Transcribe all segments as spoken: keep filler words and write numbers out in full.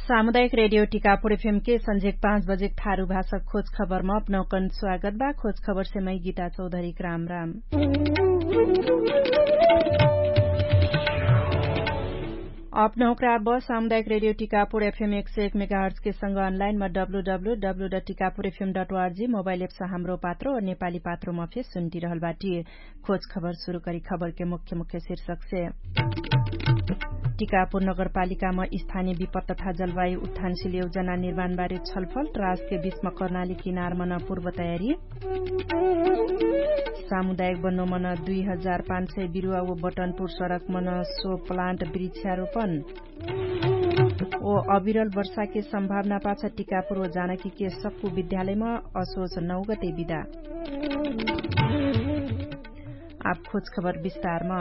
सामुदायिक रेडियो टिकापुर एफएमके सन्झेक पाँच बजेक थारु भाषक खोज खबरमा अपनौकन स्वागत बा। खोज खबरसे मै गीता चौधरीक राम राम। अपनौकरा अब सामुदायिक रेडियो टिकापुर एफएम एक सय एक मेगाहर्जके सँग अनलाइनमा W W W dot Tikapur FM dot O R G mobile apps Hamro Patro नेपाली पात्रोमा फेर सुन्टिरहल बाटी। खोज खबर सुरु करी खबरके मुख्य मुख्य शीर्षकसे। टिकापुर नगरपालिकामा स्थानीय विपत तथा जलवायु उत्थानशील योजना निर्माणबारे छलफल राजके बीचमा कर्णाली किनारमन पूर्व तयारी। सामुदायिक बन्नोमन दुई हजार पाँच सय बिरुवा व बटनपुर सडकमन सो प्लान्ट वृक्षारोपण। ओ अविरल वर्षाके सम्भावना पाछ टिकापुर व जानकीके सक्कु विद्यालयमा असोच नौ गते बिदा। आप खोज खबर विस्तारमा।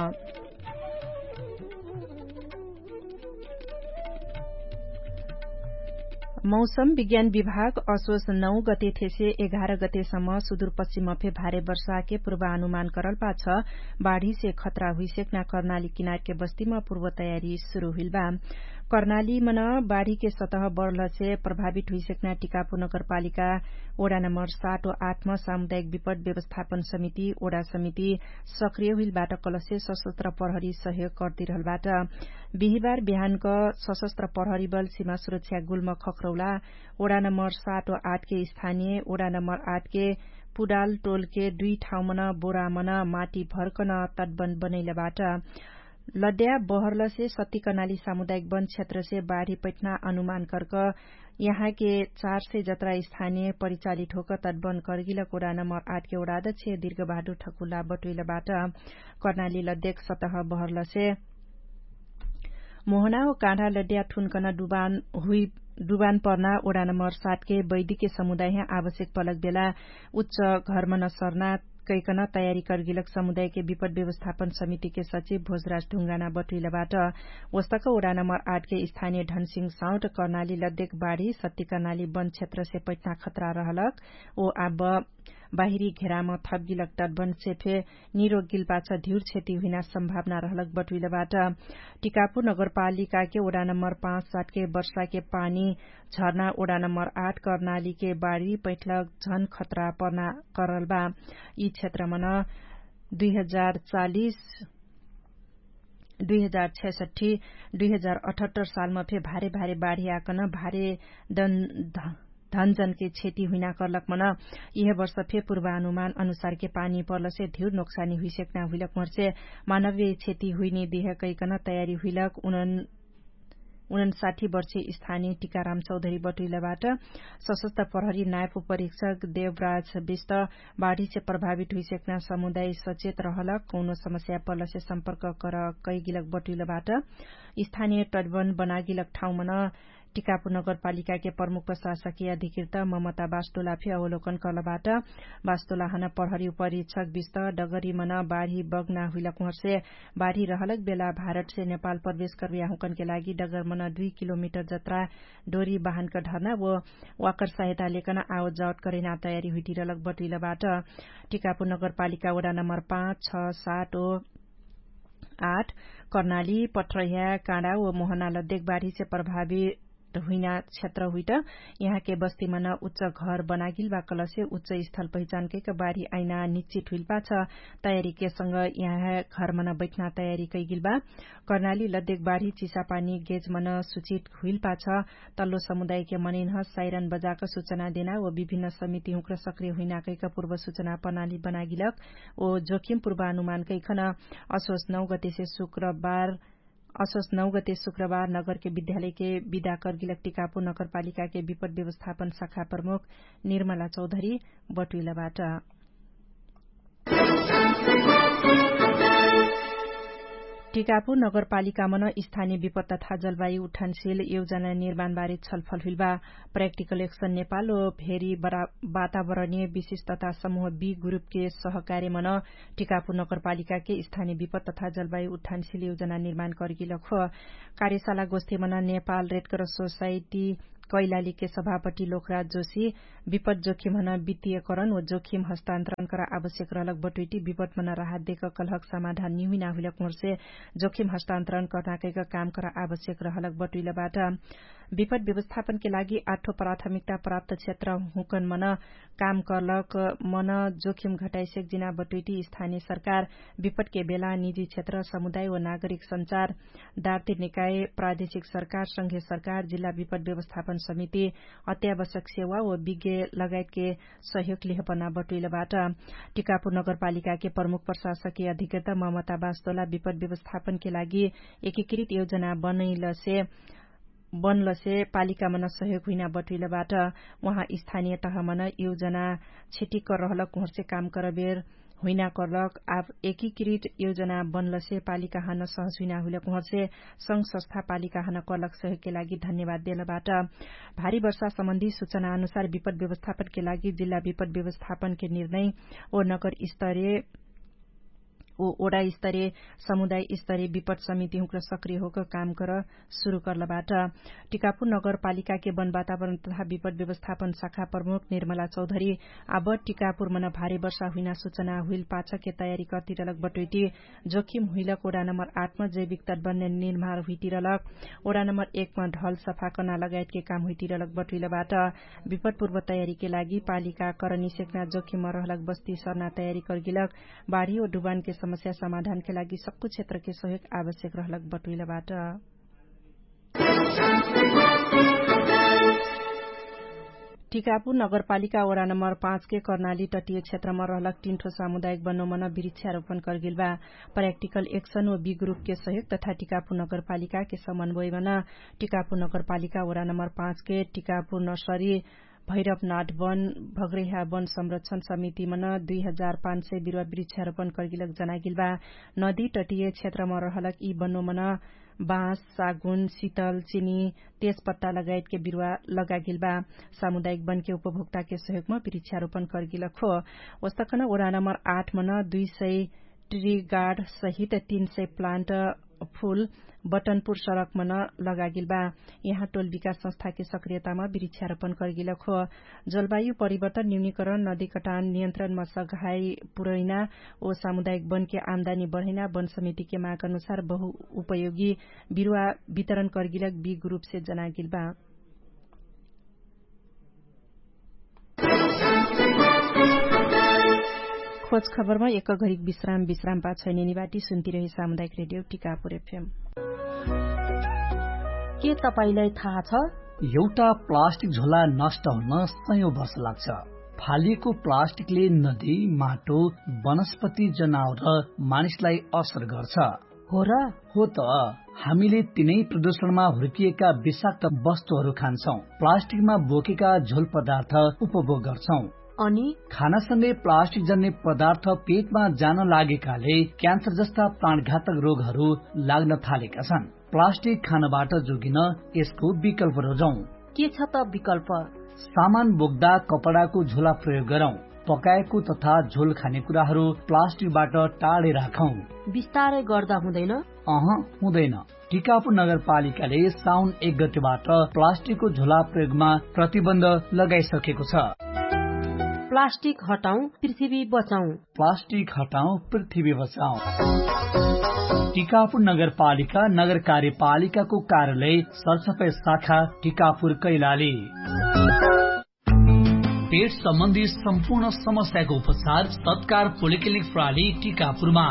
मौसम विज्ञान विभाग असोस नौ गते थेसे एघार गतेसम्म सुदुरपश्चिमफे भारे वर्षाके पूर्वानुमान करल पाछ बाढीसे खतरा हुइसेक्ना कर्णाली किनारके बस्तीमा पूर्व तयारी सुरु हुइलबा। कर्णालीमन बाढीके सतह बढलसे प्रभावित हुइसेक्ना टिकापुर नगरपालिका ओडा नम्बर सात व आठमा सामुदायिक विपट व्यवस्थापन समिति ओडा समिति सक्रिय हुइलबाट कलसे सशस्त्र प्रहरी सहयोग कर्तिरहलबाट। बिहिबार बिहानक सशस्त्र प्रहरी बल सिमा सुरक्षा गुल्म खख्रौला ओडा नम्बर सात व आठके स्थानीय ओडा नम्बर आठके पुडाल टोलके दुई ठाउँमन बोरामन माटी भर्कन तटबन बनैलबाट। लड्या बहरलसे सत्तिकनाली सामुदायिक वन क्षेत्रसे बाढी पैठना अनुमान कर्क यहाँके चार सय जत्रा स्थानीय परिचालित होक तटबन कर्गिलक ओडा नम्बर आठके ओडा अध्यक्ष दिर्गबहादुर ठकुला बटुइलबाट। कर्णाली लद्यक सतह बहरलसे मोहना हो काँढा लड्या ठुनकन डुबान हुइ डुबान पर्ना ओडा नम्बर सातके वैदिके समुदाय आवश्यक पलक बेला उच्च घरमन सर्ना कैकन तयारी कर्गिलक समुदायके विपट व्यवस्थापन समितिके सचिव भोजराज ढुङ्गाना बटुइलबाट। ओस्तक ओडा नम्बर आठके स्थानीय ढनसिङ साउट कर्णाली लद्यक बाढी सत्तिकर्णाली वन क्षेत्रसे पैठना खतरा रहलक ओ आब बाहिरी घेराम थपगिलक तटबनसे फे निरोगिल पाछ धिउर क्षति हुइना सम्भावना रहलक बटुइलबाट। टिकापुर नगरपालिकाके ओडा नम्बर पाँच सातके वर्षाके पानी झर्ना ओडा नम्बर आठ कर्णालीके बाढी पैठलक झन खतरा पर्ना करलबा। यि क्षेत्रमन दुई हजार चालिस दुई हजार छयसट्ठी दुई हजार अठहत्तर सालमा फे भारे भारे बाढी आकन भारे दन धनजनके क्षति हुइना कर्लक मन यिहे वर्ष फे पूर्वानुमान अनुसारके पानी पर्लसे धिउर नोक्सानी हुइसेक्ना हुइलक मर्चे मानवीय क्षति हुइने दिह कैकन तयारी हुइलक उनन उनन साठी वर्षे स्थानीय टिकाराम चौधरी बटुइलबाट। सशस्त्र प्रहरी नायपु परीक्षक देवराज विष्ट बाढीसे प्रभावित हुइसेक्ना समुदाय सचेत रहलक कौनो समस्या पर्लसे सम्पर्क कर कैगिलक बटुइलबाट। स्थानीय टडबन बनागिलक ठाउँमन टिकापुर नगरपालिकाके प्रमुख प्रशासकीय अधिकृत ममता बास्टोला फे अवलोकन कर्लबाट। बास्टोला हन प्रहरी उपरीक्षक विष्ट डगरीमन बाढी बग्ना हुइलक उहर्से बाढी रहलक बेला भारतसे नेपाल प्रवेश कर्बिया हुँकनके लागि डगरमन दुई किलोमिटर जत्रा डोरी बाहनक ढर्ना वो वाकर सहायता लेकन आवत जावत करेना तयारी हुइटिरलक बटुइलबाट। टिकापुर नगरपालिका वडा नम्बर पाँच छ सात ओ आठ कर्णाली पठ्रह्या काँडा व मोहना लद्देक बाढीसे प्रभावित हुइना क्षेत्र हुइट यहाँके बस्तीमन उच्च घर बनागिल बा कलसे उच्च स्थल पहिचानकैक बाढी आइना निश्चित हुइल पाछ तयारीके सँग यहाँ घरमन बैठना तयारी कैगिल बा। कर्णाली लद्देक बाढी चिसापानी गेजमन सुचित हुइल पाछ तल्लो समुदायके मनैनह साइरन बजाक सुचना देना व विभिन्न समिति हुँक्र सक्रिय हुइना कैक पूर्व सुचना प्रणाली बनागिलक ओ जोखिम पूर्वानुमान कैखन असोस नौ गतेसे शुक्रबार असोस नौ गते शुक्रबार नगरके विद्यालयके विदा कर्गिलक टिकापु नगरपालिकाके विपट व्यवस्थापन शाखा प्रमुख निर्मला चौधरी बटुइलबाट। टिकापु नगरपालिकामन स्थानीय विपत तथा जलवायु उठानशील योजना निर्माणबारे छलफल हुइलबा। प्राक्टिकल एक्सन नेपाल ओ भेरी वातावरणीय विशिष्टता समूह बी ग्रुपके सहकार्यमन टिकापु नगरपालिकाके स्थानीय विपत तथा जलवायु उठानशील योजना निर्माण कर्गिलक हो। कार्यशाला गोष्ठीमन नेपाल रेडकर सोसाइटी कैलालीके सभापटी लोकराज जोशी विपत जोखिमहन वित्तीयकरण व जोखिम हस्तान्तरण करा आवश्यक रहलक बटुइटी विपतमन राहत देक कलहक समाधान निहुइना हुइलक मोर्से जोखिम हस्तान्तरण कर्नाकैक काम करा आवश्यक रहलक बटुइलबाट। विपद व्यवस्थापनके लागि आठो प्राथमिकता प्राप्त क्षेत्र हुँकन मन काम कर्लक मन जोखिम घटाइसेक जिना बटुइटी स्थानीय सरकार विपदके बेला निजी क्षेत्र समुदाय व नागरिक सञ्चार दार्तिक निकाय प्रादेशिक सरकार संघे सरकार जिल्ला विपद व्यवस्थापन समिति अत्यावश्यक सेवा व विज्ञ लगायतके सहयोग लिहपना बटुइलबाट। टिकापुर नगरपालिकाके प्रमुख प्रशासकीय अधिकृत ममता बास्तोला विपद व्यवस्थापनके लागि एकीकृत योजना बनैलसे बनलसे पालिकामन सहयोग हुइना बटुइलबाट। उहाँ स्थानीय तहमन योजना छिटिक रहलक उहर्से काम करबेर हुइना कर्लक आब एकीकृत योजना बनलसे पालिकाहन सहज हुइना हुइलक उहर्से संघ संस्था पालिकाहन कर्लक सहयोगके लागि धन्यवाद देलबाट। भारी वर्षा सम्बन्धी सूचना अनुसार विपद व्यवस्थापनके लागि जिल्ला विपद व्यवस्थापनके निर्णय ओ नगर स्तरीय ओ ओडा स्तरीय समुदाय स्तरीय विपद समिति हुँक्र सक्रिय होक काम कर सुरु कर्लबाट। टिकापुर नगरपालिकाके वन वातावरण तथा विपद व्यवस्थापन शाखा प्रमुख निर्मला चौधरी आब टिकापुर मन भारी वर्षा हुइना सूचना हुइल पाछके तयारी कर्तिरलक बटुइटी जोखिम हुइलक ओडा नम्बर आठ मा जैविक तटबन्ध निर्माण हुइतिरलक ओडा नम्बर एक मा ढल सफा कर्ना लगायतके काम हुइतिरलक बटुइलबाट। विपदपूर्व तयारीके लागि पालिका करनी सेक्ना जोखिम रहलक बस्ती सर्ना तयारी कर्गिलक बाढी ओ डुबानके समस्या समाधानके लागि सक्कु क्षेत्रके सहयोग आवश्यक रहलक बटुइलबाट। टिकापुर नगरपालिका ओडा नम्बर पाँचके कर्नाली तटिय क्षेत्रमा रहलक टिन्ठो सामुदायिक बन्नोमन बिरिक्षारोपण कर्गिल बा। प्राक्टिकल एक्सन व बी ग्रुपके सहयोग तथा टिकापुर नगरपालिकाके समन्वयमन टिकापुर नगरपालिका ओडा नम्बर पाँचके टिकापुर नर्सरी भैरव नाट वन भग्रेहा वन संरक्षण समितिमन दुई हजार पाँच सय बिरुवा बिरिक्षारोपण कर्गिलक जनागिल बा। नदी तटिय क्षेत्रमा रहलक यी बन्नोमन बाँस सागुन सितल चिनी तेजपत्ता लगायतके बिरुवा लगागिल बा। सामुदायिक वनके उपभोक्ताके सहयोगमा बिरिक्षारोपण कर्गिलक हो। ओस्तकन ओडा नम्बर आठ मन दुई सय ट्रिगार्ड सहित तीन सय प्लान्ट फुल बटनपुर सडकमन लगागिल बा। यहाँ टोल विकास संस्थाके सक्रियतामा बिरिक्षारोपण कर्गिलक हो। जलवायु परिवर्तन न्यूनीकरण नदी कटान नियन्त्रणमा सघाई पुरैना ओ सामुदायिक वनके आमदानी बढैना वन समितिके माग अनुसार बहु उपयोगी बिरुवा वितरण कर्गिलक बी ग्रुपसे जनागिल बा। खोज खबरमा एक घरिक विश्राम विश्राम पाछै नेनिबाटी सुन्तिरहे सामुदायिक रेडियो टिकापुर एफएम। के तपाईंलाई थाहा छ? एउटा प्लास्टिक झोला नष्ट हुन सयौं वर्ष लाग्छ। फालिएको प्लास्टिकले नदी, माटो, वनस्पति, जनावर र मानिसलाई असर गर्छ। हो र? हो त। हामीले तिनै प्रदूषणमा हुर्किएका विषाक्त वस्तुहरू खान्छौं, प्लास्टिकमा बोकेका झोल पदार्थ उपभोग गर्छौं। अनि खानासँगै प्लास्टिक जन्ने पदार्थ पेटमा जान लागेकाले क्यान्सर जस्ता प्राणघातक रोगहरू लाग्न थालेका छन्। प्लास्टिक खानबाट जोगिन यसको विकल्प रोजौं। के छ त विकल्प? सामान बोक्दा कपडाको झोला प्रयोग गरौं। पकाएको तथा झोल खाने कुराहरू प्लास्टिकबाट टाढै राखौं। बिस्तारै गर्दा हुँदैन? अह, हुँदैन। टिकापुर नगरपालिकाले साउन एक गतिबाट प्लास्टिकको झोला प्रयोगमा प्रतिबन्ध लगाइसकेको छ। प्लास्टिक हटाउँ, पृथ्वी बचाउँ। प्लास्टिक हटाउँ, पृथ्वी बचाउँ। टिकापुर नगरपालिका नगर कार्यपालिकाको कार्यालय सरसफाइ शाखा टिकापुर कैलाली। पेट सम्बन्धी सम्पूर्ण समस्याको उपचार सत्कार पोलिक्लिनिक प्राली टिकापुरमा।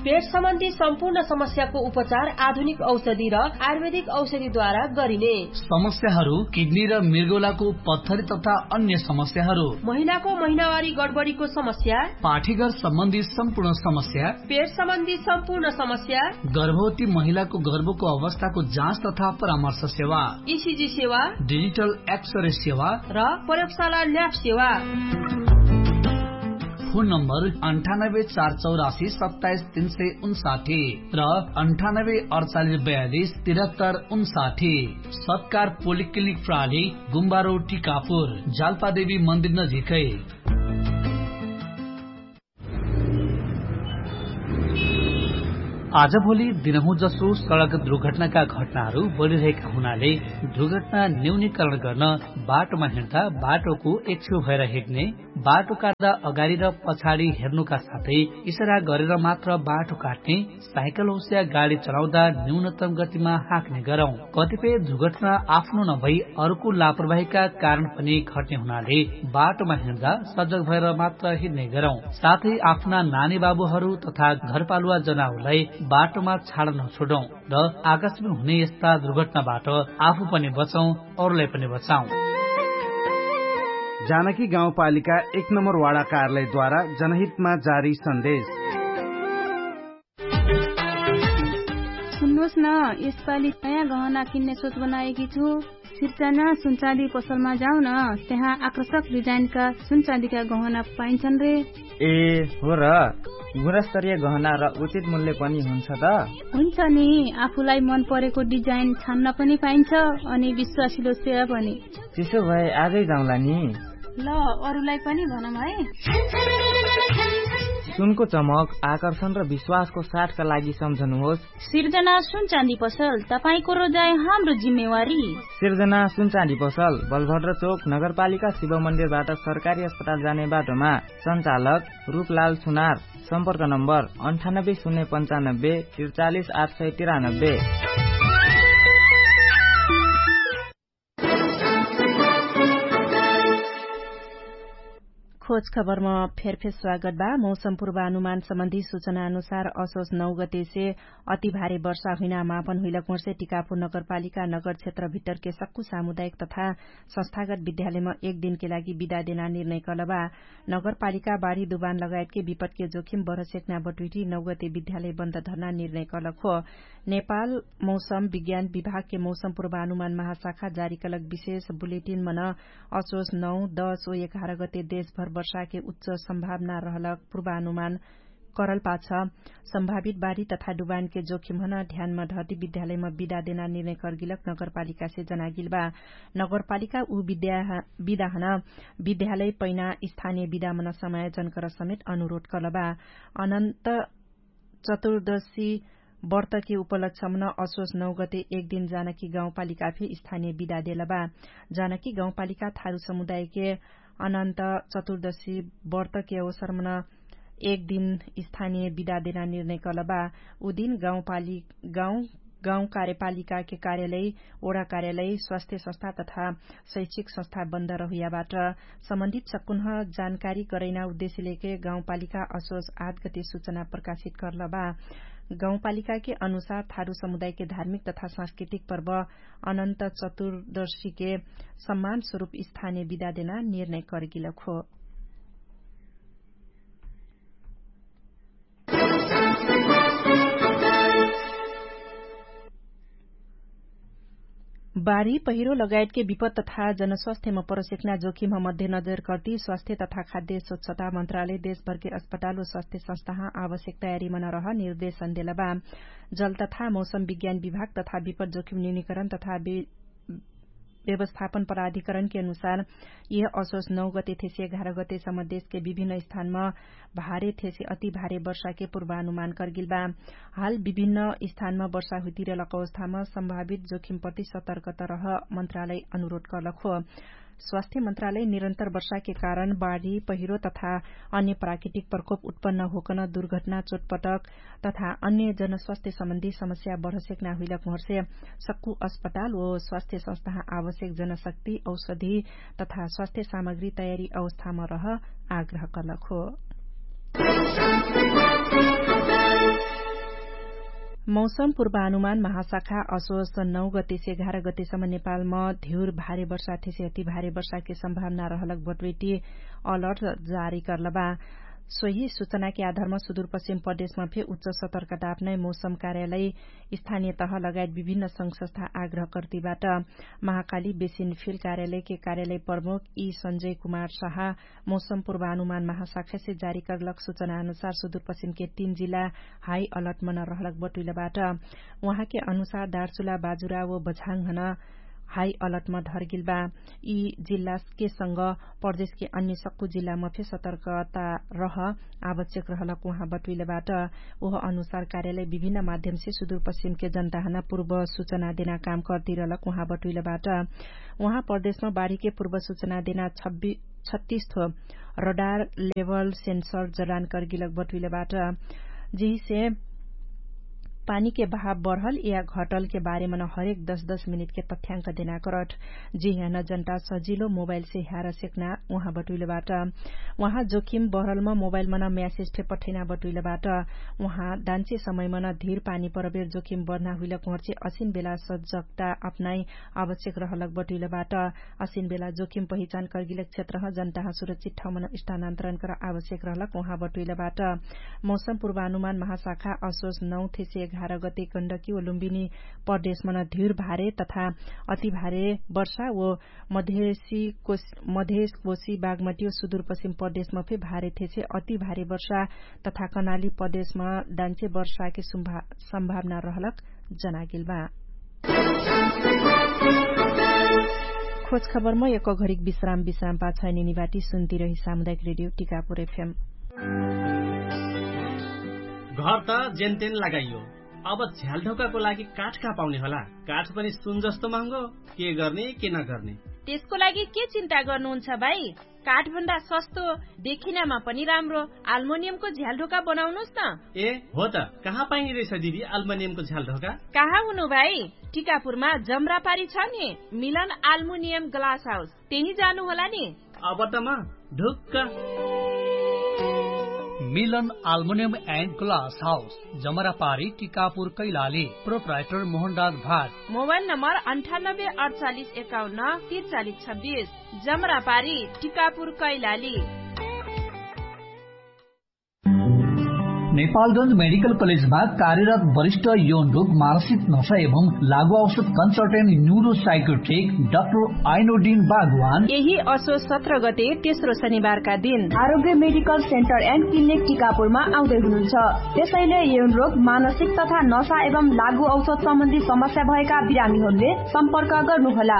पेट सम्बन्धी सम्पूर्ण समस्याको उपचार आधुनिक औषधि र आयुर्वेदिक औषधिद्वारा गरिने। समस्याहरू किडनी र मृगौलाको पत्थरी तथा अन्य समस्याहरू। महिलाको महिनावारी गडबडीको समस्या। पाठीघर सम्बन्धी सम्पूर्ण समस्या। पेट सम्बन्धी सम्पूर्ण समस्या। गर्भवती महिलाको गर्भको अवस्थाको जाँच तथा परामर्श सेवा। इसिजी सेवा। डिजिटल एक्सरे सेवा। र प्रयोगशाला ल्याब सेवा। फोन नम्बर अन्ठानब्बे चार चौरासी सत्ताइस तीन सय उन्साठी र अन्ठानब्बे अडचालिस बयालिस तिरहत्तर उन्साठी। सत्कार पोलिक्लिनिक प्राली गुम्बारो टिकापुर जालपादेवी मन्दिर नजिकै। आजभोलि दिनहुँ जसो सडक दुर्घटनाका घटनाहरू बढिरहेका हुनाले दुर्घटना न्यूनीकरण गर्न बाटोमा हिँड्दा बाटोको एकछेउ भएर हिँड्ने, बाटो काट्दा अगाडि र पछाडि हेर्नुका साथै इसरा गरेर मात्र बाटो काट्ने, साइकल होस्या गाडी चलाउँदा न्यूनतम गतिमा हाँक्ने गरौँ। कतिपय दुर्घटना आफ्नो नभई अर्को लापरवाहीका कारण पनि घट्ने हुनाले बाटोमा हिँड्दा सजग भएर मात्र हिँड्ने गरौँ। साथै आफ्ना नानी बाबुहरू तथा घरपालुवा जनाउलाई बाटोमा छाड नछोडौँ र आकाशमा हुने यस्ता दुर्घटनाबाट आफू पनि बचौँ, अरूलाई पनि बचाउँ। जानकी गाउँपालिका एक नम्बर वाडा कार्यालयद्वारा जनहितमा जारी सन्देश। सुन्नुहोस् न, यसपालि नयाँ गहना किन्ने सोच बनाएकी छु। सिर्जना सुनचाँदी पसलमा जाऊ न, त्यहाँ आकर्षक डिजाइनका सुनचाँदीका गहना पाइन्छन् रे। ए, हो र, गुणस्तरीय गहना र उचित मूल्य पनि हुन्छ त? हुन्छ नि, आफूलाई मन परेको डिजाइन छान्न पनि पाइन्छ, अनि विश्वासिलो सेवा पनि। त्यसो भए आजै जाउँला नि। ल, अरूलाई पनि भनौँ है। सुनको चमक, आकर्षण र विश्वासको साथका लागि सम्झनुहोस्। सिर्जना सुनचाँदी पसल, तपाईंको रोजाइ हाम्रो जिम्मेवारी। सिर्जना सुनचाँदी पसल, बलभद्र चोक, नगरपालिका शिव मन्दिरबाट सरकारी अस्पताल जाने बाटोमा। सञ्चालक रूपलाल सुनार। सम्पर्क नम्बर अन्ठानब्बे शून्य पन्चानब्बे त्रिचालिस आठ सय तिरानब्बे। खोज खबरमा फेरफेर स्वागत बा। मौसम पूर्वानुमान सम्बन्धी सूचना अनुसार असोज नौ गतेसे अति भारी वर्षा हुइना मापन हुइलक मोर्से टिकापुर नगरपालिका नगर क्षेत्र भित्तरके सक्कु सामुदायिक तथा संस्थागत विद्यालयमा एक दिनके लागि विदा देना निर्णय कलबा। नगरपालिका बाढी दुबान लगायतके विपतके जोखिम बढसेक्ना बटुइटी नौ गते विद्यालय बन्द धर्ना निर्णय कलक हो। नेपाल मौसम विज्ञान विभागके मौसम पूर्वानुमान महाशाखा जारी कलक विशेष बुलेटिन मन असोज नौ दस ओ एघार गते देशभर वर्षाके उच्च सम्भावना रहलक पूर्वानुमान करल पाछ सम्भावित बाढी तथा डुबानके जोखिम हन ध्यानमा धर्दी विद्यालयमा विदा देना निर्णय कर्गिलक नगरपालिकासे जनागिल बा। नगरपालिका उ विदा हन विद्यालय पैना स्थानीय विदामन समायोजन कर समेत अनुरोध कलबा। अनन्त चतुर्दशी वर्तके उपलक्षमन असोज नौ गते एक दिन जानकी गाउँपालिका फे स्थानीय विदा देलबा। जानकी गाउँपालिका थारु समुदायके अनन्त चतुर्दशी वर्तके अवसरमन एक दिन स्थानीय विदा देना निर्णय कलबा। उदिन गाउँपालिका गाउँ गाउँ कार्यपालिकाके कार्यालय, ओडा कार्यालय, स्वास्थ्य संस्था तथा शैक्षिक संस्था बन्द रहुयाबाट सम्बन्धित सकुन्ह जानकारी करैना उद्देश्यलेके गाउँपालिका असोज आठ गते सूचना प्रकाशित कर्लबा। गाउँपालिकाके अनुसार थारु समुदायके धार्मिक तथा सांस्कृतिक पर्व अनन्त चतुर्दशीके सम्मान स्वरूप स्थानीय विदा देना निर्णय करगिलक हो। बारी पहिरो लगायतके विपत तथा जनस्वास्थ्यमा परसेक्ना जोखिमह मध्य नजर कर्ती स्वास्थ्य तथा खाद्य स्वच्छता मन्त्रालय देशभरके अस्पताल व स्वास्थ्य संस्थाह आवश्यक तयारीमा नरह निर्देशन देलबा। जल तथा मौसम विज्ञान विभाग तथा विपत जोखिम न्यूनिकरण तथा व्यवस्थापन पराधिकरणके अनुसार यह असोस नौ गते थेसे एघार गते सम्म देशके विभिन्न स्थानमा भारे थेसे अति भारे वर्षाके पूर्वानुमान कर्गिल बा। हाल विभिन्न स्थानमा वर्षा हुइतिरलक अवस्थामा सम्भावित जोखिम प्रति सतर्कत रह मन्त्रालय अनुरोध कर्लक हो। स्वास्थ्य मन्त्रालय निरन्तर वर्षाके कारण बाढी पहिरो तथा अन्य प्राकृतिक प्रकोप उत्पन्न होकन दुर्घटना चोटपटक तथा अन्य जनस्वास्थ्य सम्बन्धी समस्या बढसेक नाहुइलक मोहर्से सक्कु अस्पताल व स्वास्थ्य संस्था आवश्यक जनशक्ति औषधि तथा स्वास्थ्य सामग्री तयारी अवस्थामा रह आग्रह कर्लक हो। मौसम पूर्वानुमान महाशाखा असोस नौ गतेसे एघार गतेसम्म नेपालमा धिउर भारे वर्षा थेसे अति भारे वर्षाके सम्भावना रहलक बटुइटी अलर्ट जारी कर्लबा। सोही सूचनाके आधारमा सुदूरपश्चिम प्रदेशमा फे उच्च सतर्कता अपनाइ मौसम कार्यालय स्थानीय तह लगायत विभिन्न संघ संस्था आग्रह कर्तिबाट। महाकाली बेसिन फिल कार्यालयके कार्यालय प्रमुख यी सञ्जय कुमार साहा मौसम पूर्वानुमान महाशाखासे जारी कर्लक सूचना अनुसार सुदूरपश्चिमके तीन जिल्ला हाई अलर्टमन रहलक बटुइलबाट। उहाँके अनुसार दार्चुला बाजुरा व बझाङ हन हाई अलर्टमा धरगेल बा। यी जिल्लाके संग प्रदेशके अन्य सक्कु जिल्लामा फे सतर्कता रह आवश्यक रहलक उहाँ बटुइलबाट। उह अनुसार कार्यालय विभिन्न माध्यमसे सुदूरपश्चिमके जनताहना पूर्व सुचना देना काम कर्तिरहलक उहाँ बटुइलबाट। उहाँ प्रदेशमा बाढीके पूर्व सुचना देना छत्तीस थो रडार लेवल सेन्सर जडान कर्गिलक बटुइलबाट। जिहिसे पानीके भाव बढल या घटलके बारेमन हरेक दश दश मिनिटके तथ्याङ्क देना करट। जिहन जनता सजिलो मोबाइलसे ह्यार सेक्ना उहाँ बटुइलबाट। उहाँ जोखिम बढलम मोबाइलमन म्यासेज फे पठैना बटुइलबाट। उहाँ दान्चे समयमन धिर पानी परबेर जोखिम बढ्ना हुइलक उहर्चे असिन बेला सजगता अपनाइ आवश्यक रहलक बटुइलबाट। असिन बेला जोखिम पहिचान कर्गिलक क्षेत्रह जनताह सुरक्षित ठाउँमन स्थानान्तरण कर आवश्यक रहलक उहाँ बटुइलबाट। मौसम पूर्वानुमान महाशाखा असोस नौ थेसे एघार गते गण्डकी व लुम्बिनी प्रदेशमन धिर भारे तथा अति भारे वर्षा व मधेसी कोस मधेस कोसी बागमटी व सुदूरपश्चिम प्रदेशमा फे भारे थेसे अति भारे वर्षा तथा कनाली प्रदेशमा दान्चे वर्षाके सम्भावना रहलक जनागेल बा। खोज खबरमा एक घरिक विश्राम विश्राम पाछा निनिबाटी सुन्ती रही सामुदायिक रेडियो टिकापुर एफएम। घर त जेनतेन लगाइयो, अब झ्यालढोकाको लागि काठ कहाँ पाउने होला? काठ पनि सुन जस्तो महँगो। के गर्ने के नगर्ने? त्यसको लागि के चिन्ता गर्नुहुन्छ भाइ? काठभन्दा सस्तो, देखिनमा पनि राम्रो आल्मोनियमको झ्यालढोका बनाउनुस् न। ए हो त, कहाँ पाइने रहेछ दिदी आल्मोनियमको झ्यालढोका? कहाँ हुनु भाइ? टिकापुरमा जमरापारी छ नि, मिलन आल्मोनियम ग्लास हाउस, त्यही जानु होला नि। अब त म ढुक्क। मिलन आल्मोनियम एन्ड ग्लास हाउस, जमरापारी टिकापुर कैलाली। प्रोप्राइटर मोहनराज भाट। मोबाइल नम्बर अन्ठानब्बे अडचालिस एकाउन्न तिरचालिस छब्बिस। जमरापारी टिकापुर कैलाली। नेपालगञ्ज मेडिकल कलेजमा कार्यरत वरिष्ठ यौन रोग मानसिक नशा एवं लागु औषध कन्सल्टेन्ट न्युरो साइकोट्रिक डाक्टर आइनोडिन बागवान यही असो सत्र गते तेस्रो शनिबारका दिन आरोग्य मेडिकल सेन्टर एन्ड क्लिनिक टिकापुरमा आउँदै हुनुहुन्छ। त्यसैले यौन रोग मानसिक तथा नशा एवं लागु औषध सम्बन्धी समस्या भएका बिरामीहरूले सम्पर्क गर्नुहोला।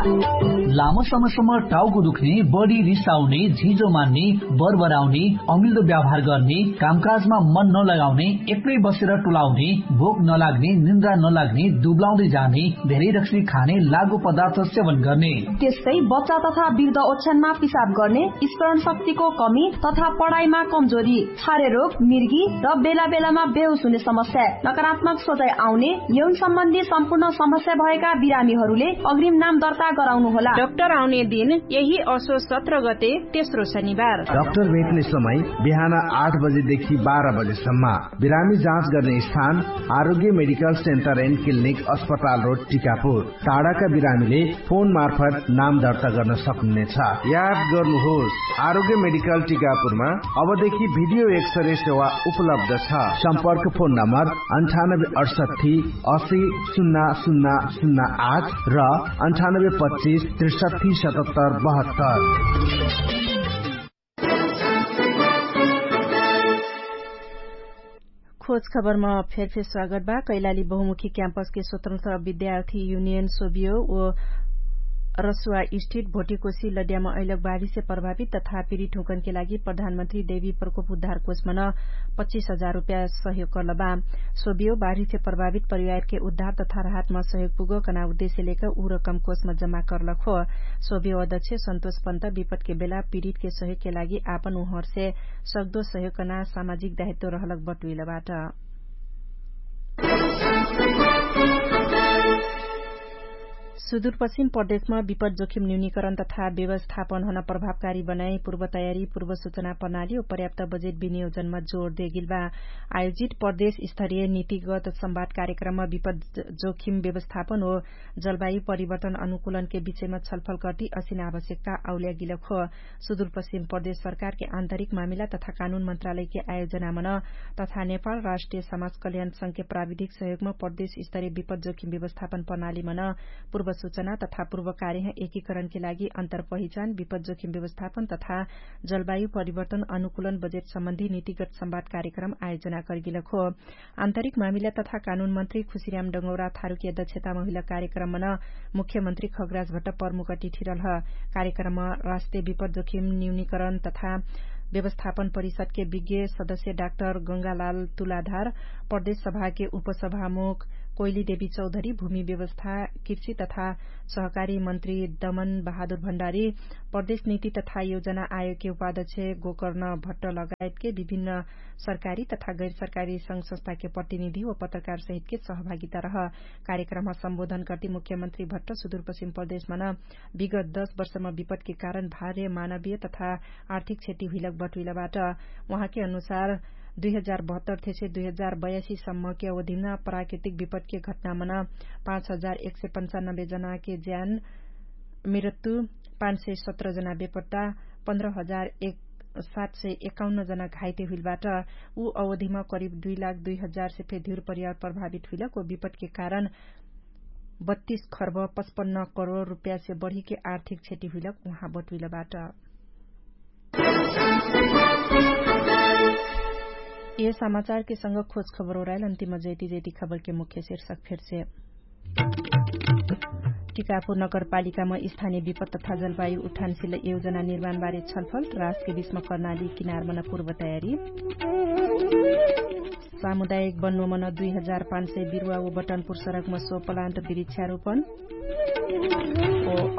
लामो समयसम्म टाउको दुख्ने, बढी रिसाउने, झिजो मान्ने, बरबराउने, अमिल्दो व्यवहार गर्ने, कामकाजमा मन नलगाउने, एक्लै बसेर टुलाउने, भोक नलाग्ने, निन्द्रा नलाग्ने, दुब्लाउँदै जाने, धेरै रक्सी खाने, लागु पदार्थ सेवन गर्ने। त्यस्तै बच्चा तथा वृद्ध ओछ्यानमा पिसाब गर्ने, स्मरण शक्तिको कमी तथा पढाइमा कमजोरी, छारे रोग, मिर्गी र बेला बेलामा बेहोस हुने समस्या, नकारात्मक सोचाइ आउने, यौन सम्बन्धी सम्पूर्ण समस्या भएका बिरामीहरूले अग्रिम नाम दर्ता गराउनु होला। डाक्टर आउने दिन यही असो सत्र गते तेस्रो शनिबार। डाक्टर भेट्ने समय बिहान आठ बजेदेखि बाह्र बजेसम्म। बिरामी जाँच गर्ने स्थान आरोग्य मेडिकल सेन्टर एन्ड क्लिनिक अस्पताल रोड टिकापुर। टाढाका बिरामीले फोन मार्फत नाम दर्ता गर्न सक्नुहुनेछ। याद गर्नुहोस्, आरोग्य मेडिकल टिकापुरमा अबदेखि भिडियो एक्सरे सेवा उपलब्ध छ। सम्पर्क फोन नम्बर अन्ठानब्बे अडसट्ठी असी सुन्ना सुन्ना सुन्ना आठ र अन्ठानब्बे पच्चिस त्रिसट्ठी सतहत्तर बहत्तर। खोज खबरमा फेरफेर स्वागत बा। कैलाली बहुमुखी क्याम्पसके स्वतन्त्र विद्यार्थी युनियन सोबियो ओ रसुवा स्ट्रिट भोटिकोसी लड्यामा अहिलक बाढीसे प्रभावित तथा पिरिट हुँकनके लागि प्रधानमन्त्री देवी प्रकोप उद्धार कोषमन पच्चिस हजार रुप्या सहयोग कर्लबा। सोबियो बाढीसे प्रभावित परिवारके उद्धार तथा राहतमा सहयोग पुगो कना उद्देश्य लेक उ रकम कोषमा जम्मा कर्लक हो। सोबियो अध्यक्ष सन्तोष पन्त विपटके बेला पिरिटके सहयोगके लागि आपन उहरसे सक्दो सहयोग कना सामाजिक दायित्व रहलक बटुइलबाट। सुदूरपश्चिम प्रदेशमा विपद जोखिम न्यूनीकरण तथा व्यवस्थापन हन प्रभावकारी बनाई पूर्व तयारी पूर्व सूचना प्रणाली ओ पर्याप्त बजेट विनियोजनमा जोर देगिल बा। आयोजित प्रदेश स्तरीय नीतिगत संवाद कार्यक्रममा विपद जोखिम व्यवस्थापन ओ जलवायु परिवर्तन अनुकूलनके विषयमा छलफल कर्ति असिन आवश्यकता आउल्यागिलक हो। सुदूरपश्चिम प्रदेश सरकारके आन्तरिक मामिला तथा कानुन मन्त्रालयके आयोजनामन तथा नेपाल राष्ट्रिय समाज कल्याण संघके प्राविधिक सहयोगमा प्रदेश स्तरीय विपद जोखिम व्यवस्थापन प्रणालीमन पूर्व सूचना तथा पूर्वकार्य एकीकरणके लागि अन्तरपहिचान विपद जोखिम व्यवस्थापन तथा जलवायु परिवर्तन अनुकूलन बजेट सम्बन्धी नीतिगत संवाद कार्यक्रम आयोजना करगेलक हो। आन्तरिक मामिला तथा कानुन मन्त्री खुसिर्याम डङ्गौरा थारुके अध्यक्षतामा हुइल कार्यक्रममा न मुख्यमन्त्री खगराज भट्ट प्रमुख अतिथिरल ह। कार्यक्रममा राष्ट्रिय विपद जोखिम न्यूनीकरण तथा व्यवस्थापन परिषदके विज्ञ सदस्य डाक्टर गङ्गालाल तुलाधार, प्रदेश सभाके उपसभामुख कोइली देवी चौधरी, भूमि व्यवस्था, कृषि तथा सहकारी मन्त्री दमन बहादुर भण्डारी, प्रदेश नीति तथा योजना आयोगके उपाध्यक्ष गोकर्ण भट्ट लगायतके विभिन्न सरकारी तथा गैर सरकारी संघ संस्थाके प्रतिनिधि व पत्रकार सहितके सहभागिता रह। कार्यक्रममा सम्बोधन कर्ति मुख्यमन्त्री भट्ट सुदूरपश्चिम प्रदेशमा न विगत दश वर्षमा विपदके कारण भार्य मानवीय तथा आर्थिक क्षति हुइलक बटुइलबाट। उहाँके अनुसार दुई हजार बहत्तर थेसे दुई हजार बयासी सम्मके अवधिमा प्राकृतिक विपदके घटनामा न पाँच हजार एक सय पन्चानब्बे जनाके ज्यान मृत्यु, पाँच सय सत्र जना बेपट्टा, पन्ध्र हजार एक सात सय एकाउन्न जना घाइते हुइलबाट। उ अवधिमा करिब दुई लाख दुई हजार से फे धिउर परिवार प्रभावित हुइलक व विपदके कारण बत्तीस खर्ब पचपन्न करोड रुपियाँसे बढीके आर्थिक क्षति हुइलक उहाँ बटुइलबाट। ए समाचारके संग खोज खबर ओराइल अन्तिम जैती जैती खबरके मुख्य शीर्षक फेरसे। टिकापुर नगरपालिकामा स्थानीय विपद तथा जलवायु उठानशिल योजना निर्माणबारे छलफल, राष्ट्रके विश्व कर्णाली किनारमन पूर्व तयारी। सामुदायिक बन्नोमन दुई हजार पाँच सय बिरुवा व बटनपुर सडकमा सो पलान्त बिरिक्षारोपण।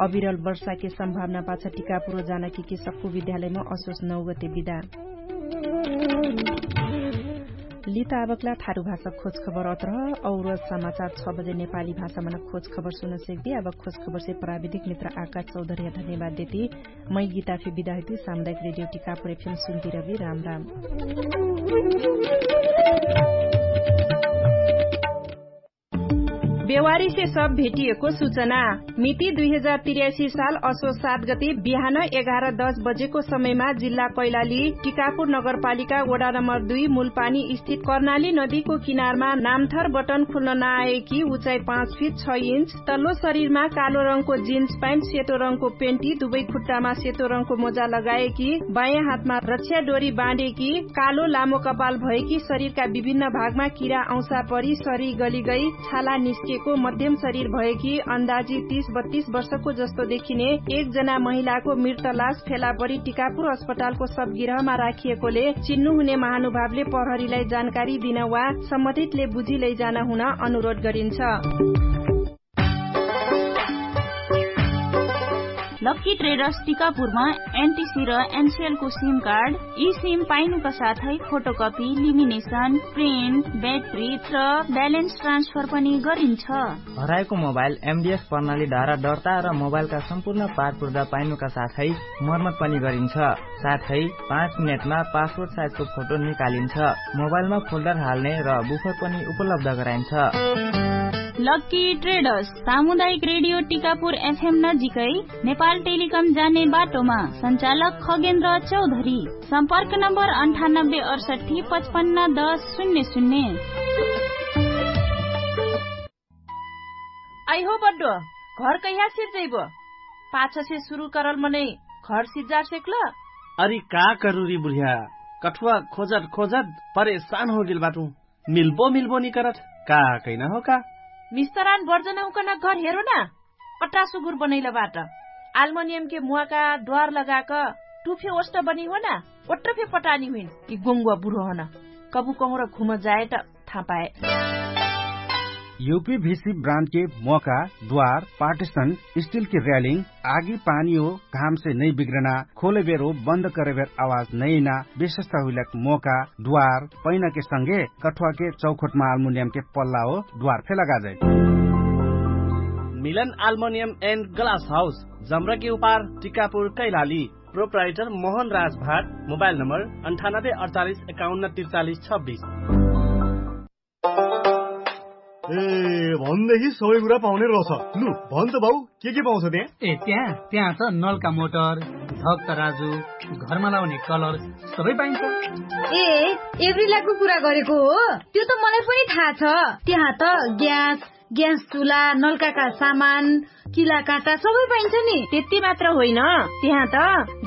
अविरल वर्षाके सम्भावना पाछ टिकापुर जानकी कि सक्कु विद्यालयमा असोस नौगते बिदा। लिता आबकला थारु भाषा खोज खबर अत्रह। और समाचार छ बजे नेपाली भाषामन खोज खबर सुन सेक्दी। आबक खोज खबरसे प्राविधिक मित्र आकाश चौधर्या धन्यवाद देती। मै गीता फे बिदा हुइती। सामुदायिक रेडियो टिकापुर एफएम सुन्ती रबी। राम राम। बेवारीसे सब भेटिएको सुचना। मिति दुई हजार तिर्यासी साल असो सात गति बिहान एघार दस बजेको समयमा जिल्ला कैलाली टिकापुर नगरपालिका वडा नम्बर दुई मुलपानी स्थित कर्णाली नदीको किनारमा नामथर बटन खुल्न नआएकी उचाइ पाँच फिट छ इन्च तल्लो शरीरमा कालो रङको जिन्स प्यान्ट सेतो रङको पेन्टी दुवै खुट्टामा सेतो रङको मोजा लगाएकी बायाँ हातमा रक्षा डोरी बाँडेकी कालो लामो कपाल भएकी शरीरका विभिन्न भागमा किरा औसा परि सरी गलिगई छाला निस्केको मध्यम शरीर भएकी अन्दाजी तीस बत्तीस वर्षको जस्तो देखिने एकजना महिलाको मृत लास फेला परि टिकापुर अस्पतालको सबगिरहमा राखिएकोले चिन्नु हुने महानुभावले प्रहरीलाई जानकारी दिन वा सम्बन्धितले बुझी लैजान हुन अनुरोध गरिन्छ। लक्की ट्रेडर्स टिकापुरमा एनटिसी र एनसिएलको सिम कार्ड, ई सिम पाइनुका साथै फोटोकपी, लिमिनेसन, प्रिन्ट, ब्याट्री र ब्यालेन्स ट्रान्सफर पनि गरिन्छ। हराएको मोबाइल एमडिएस प्रणाली धारा दर्ता र मोबाइलका सम्पूर्ण पारपुर्दा पाइनुका साथै मर्मत पनि गरिन्छ। साथै पाँच मिनेटमा पासपोर्ट साइजको फोटो निकालिन्छ। मोबाइलमा फोल्डर हाल्ने र बुफर पनि उपलब्ध गराइन्छ। लक्की ट्रेडर्स सामुदायिक रेडियो टिकापुर एफएम नजिकै नेपाल टेलिकम जाने बाटोमा। सञ्चालक खगेन्द्र चौधरी। सम्पर्क नम्बर अन्ठानब्बे अडसठी पचपन्न दस शून्य शून्य। आइहो बड्डो, घर कैहा सिर्जैबो? पाछसे सुरु करल मनै घर सिज्जार सेक्ल? अरि का करुरी बुढिया, कठुवा खोजत खोजत परेशान होगेल बाटु। मिल्बो मिल्बो निकरत का कैना हो का? मिस्तरान बर्जन हुकन घर हेरो ना। अट्रा सुगुर बनैल बाट। आल्मोनियमके मुवाका द्वार लगाक टुफे ओष्ट बनी हो ना। ओट्रफे पटानी हुइन कि गोङ्गुवा बुढो हन। कबु कहुँर घुम जाएट थापाए। युपी भिसी ब्रान्डके मोका, द्वार, पार्टिसन, स्टिलके र्यालिङ, आगी पानी हो घामसे नै बिग्रना, खोले बेरो बन्द करे बेर आवाज नैना, विशेषता हुइलक मोका, द्वार, पैनाके संगे कठुवाके चौखोटमा आल्मुनियमके पल्ला हो द्वार फे लगाजै। मिलन आल्मुनियम एन्ड ग्लास हाउस, जम्रके उपार, टिकापुर, कैलाली। प्रोप्राइटर मोहन राज भाट। मोबाइल नम्बर अन्ठानब्बे अडचालिस एकाउन्न त्रिचालिस छब्बिस। ए, भन्देही सबै कुरा पाउने रछ। लु भन त बाउ, के के पाउँछ त्यहाँ? ए, त्यहाँ त्यहाँ छ नलका मोटर, धक्क राजु, घरमा लाउने कलर, सबै पाइन्छ। ए, एभ्रिलाको कुरा गरेको हो? त्यो त मलाई पनि थाहा छ। त्यहाँ त ग्यास, ग्यास चुला, नल्काका सामान, किला काटा सबै पाइन्छ नि। त्यति मात्र होइन, त्यहाँ त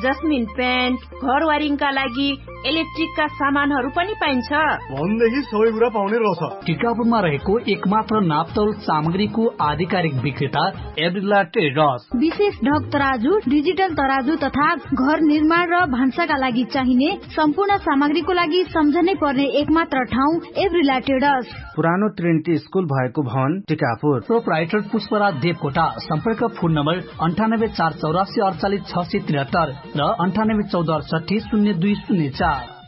जस्मिन प्यान्ट, घरवारिङका लागि इलेक्ट्रिकका सामानहरू पनि पाइन्छ। भन्नेही सबै कुरा पाउने रहेछ। टिकापुरमा रहेको एकमात्र नाप्तौल सामग्रीको आधिकारिक विक्रेता एब्रिला ट्रेडर्स। विशेष ढक तराजु, डिजिटल तराजु तथा घर निर्माण र भान्साका लागि चाहिने सम्पूर्ण सामग्रीको लागि सम्झनै पर्ने एकमात्र ठाउँ एब्रिला ट्रेडर्स। पुरानो ट्रिनिटी स्कुल भएको भवन टिकापुर। प्रोपराइटर पुष्पराज देवकोटा। सम्पर्क फोन नम्बर अन्ठानब्बे चार चौरासी अडचालिस छ सय त्रिहत्तर र अन्ठानब्बे चौध अडसट्ठी शून्य दुई शून्य चार।